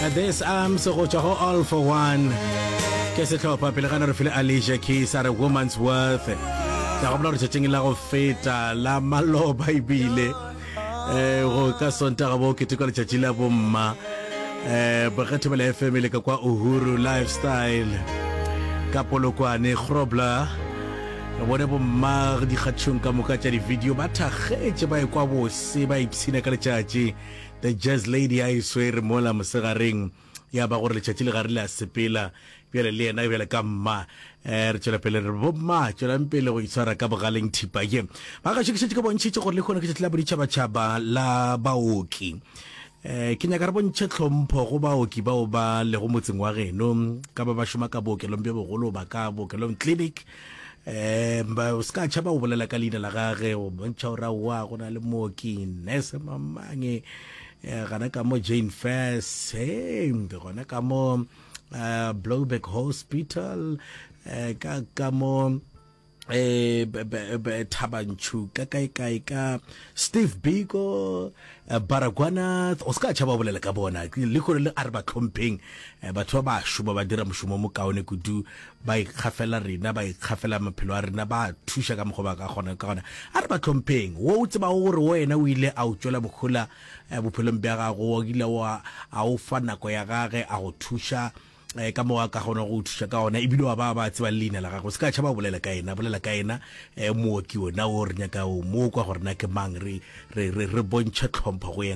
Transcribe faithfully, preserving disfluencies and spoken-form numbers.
This Arms go tšwa go All for One ke sehlopha. Pele gana re file Alicia Keys a re Woman's Worth. Ka gopola gore tšatšing la go feta la maloba ebile um go ka Sontaga bo ketekwa letšatši la bomma, um Boge Thobela F M le ka kwa Uhuru Lifestyle ka Polokwane Grobler, re bone bomma dikgatšhong ka moka tša di-video ba thakgetše, ba ekwa bose, ba ipshina ka letšatši. The Jazz Lady a e swere mola mosegareng, ya ba gore letšatši le gare le a sepela bjale le yena bjale ka mma. um re tšwela pele re bomma, tšwelang pele go itshwara ka bogaleng thipa ye. Ba gašo, ke šetše ke bontšhitše gore le kgone ke tšatši la boditšhabatšhaba la baoki. um ke nyaka re bontšhe tlhompho go baoki bao ba lego motseng wa geno, ka ba ba šoma ka bookelong bjo bogolo ba ka bookelong clinic. um ba o se ka tšhaba go bolela ka leina la gage, go bontšha gore aowa, go na le mooki nurse mamange um gana ka mo Jane Furse, hey, gona ka mo uh, Blouberg Hospital, uh, ka ka mo eh Thaba Nchu, ka kae kae ka Steve Biko, Baragwanath. O se ka tšhaba bolela ka bona le gore le a re ba tlhompheng. Batho ba ba šoma, ba dira mošomo mo kaone kudu, ba ikgafela rena, ba ikgafela maphelo a rena, ba thuša ka mokgwa ba ka kgona ka gona. A re ba tlhompheng. Wo o tsebago gore wena o ile a o tšwela mohola bophelong bja gago, o ile wa a o fa nako ya gage a go thuša eh, ka mo a ka kgona go thuša ka ona, ebile wa ba ba tseba le leina la gagwe, se ka tšhaba bolela ka ena, bolela ka ena. um mooki ona o re nyaka o mo kwa gore na ke mang, re re re re bontšhe tlhompho go yena.